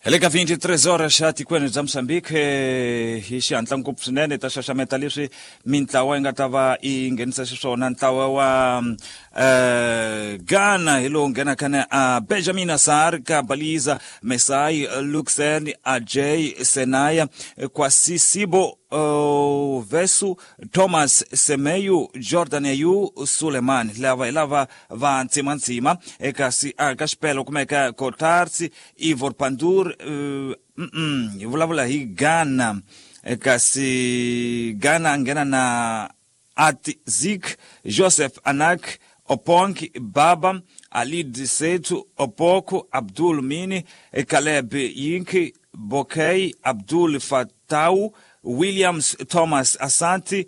Hi le ka 23 horas xa tikweni bya Mozambique hi xihatla ngopfu swinene ta xaxameta leswi mintlawa yi nga ta va yi nghenisa xiswona. Ntlawa wa Ghana hi lowu nghenaka na a Benjamin Asar ka Baliza Mesai Luxen Ajay Senaya Kwasisibo Vesu Thomas Semeyu Jordan Ayu Suleiman. Lava hi lava va ntsimantsima. Eka ka xipelo kumeka Kotarsi Ivor Pandur. Hi vulavula hi Ghana, kasi Ghana nghena na Atzik Joseph Anak Opong Baba Alid Setu Opoko Abdul Mini Caleb Yinki Bokay Abdul Fatau Williams Thomas Asanti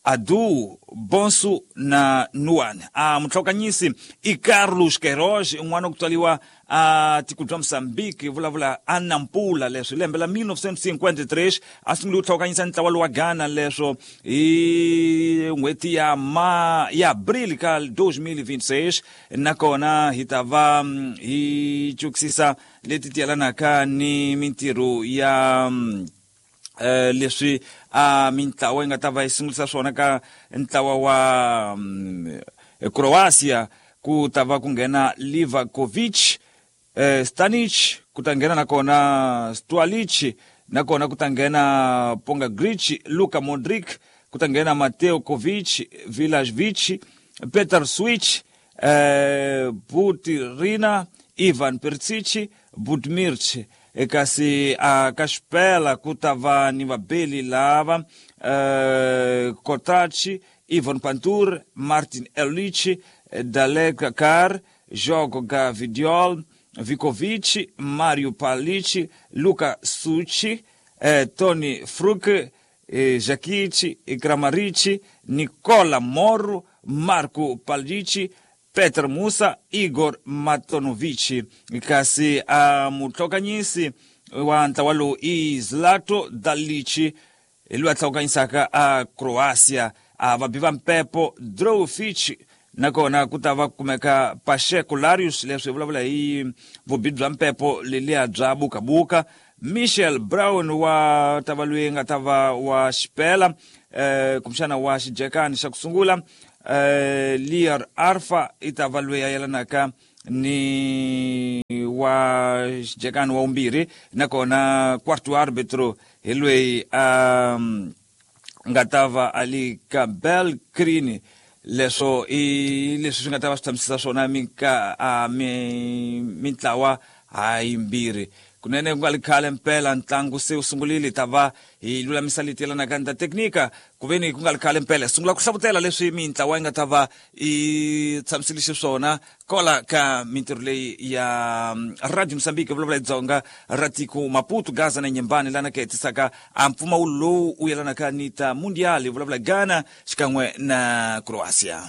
Adu Bonsu na Nuan. A mutlhokanyisi i Carlos Queiroz, un'wana ku tswariwa a tiko bya Mozambique, vulavula a Nampula. Leswi lembe la 1953 a sungule ku tlhokanyisa ntlawa lowa Ghana, leswo hi n'hweti ya ma ya Abril ka 2026. Nakona hi ta va hi cukisisa leti ti yelanaka ni mintirho ya leswi a mintlawa yi nga ta va yi sungulisa swona. Ka ntlawa wa Croatia ku ta va ku nghena Livakovic, Stanic, ku ta nghena nakona Stualic, nakona ku ta nghena Pongagrich, Luka Modric, ku ta nghena Mateo Kovic, Vilasvic, Peter Switch, Butirina, Ivan Perisic, Budmirch. Kasi a ka xipela ku ta va ni vabeli lava Kotachi, Ivan Pantur, Martin Erlich, Dalek Kar, Jogo Gavidiol, Vikovic, Mario Palic, Luka Suchi, Tony Fruk, Jakic, Kramaric, Nicola Moro, Marco Palic, Peter Musa, Igor Matonovic. Kasi a mutlhokanyisi wa ntlawa lowu i Zlato Dalic, hi loyi a tlhokanyisaka a Croatia. A vabi va mpepo Drowfich, nakona ku ta va kumeka Pacheco Larius, leswi hi vulavula hi vubi bya mpepo leliya bya bukabuka. Michel Brown wa ta va loyi nga ta va wa xipela, kumbexana wa xijekani xa ku sungula. Liar Arfa i ta va loyi a yelanaka ni wa xijekani wa vumbirhi, nakona quarto arbitro hi loyi a nga ta va a li ka Bel Green. Leswo i leswi swi nga ta va swi tshamisisa swona mintlawa hayimbirhi. Kunene ku nga li khale mpela ntlangu se wu sungurile, ta va hi lulamisa leti yelanaka ni ta teknika ku ve ni ku nga li khale mpela sungula ku hlavutela leswi mintlawa yi nga ta va yi tshamisile xiswona kola ka mintirho leyi ya Radio Mozambique, vulavula hi Dzonga ra tiko Maputo, Gaza na Nyembani, lana ka hetisaka a mpfumawulo lowu wu yelanaka ni ta Mundial, vulavula Ghana xikan'we na Croatia.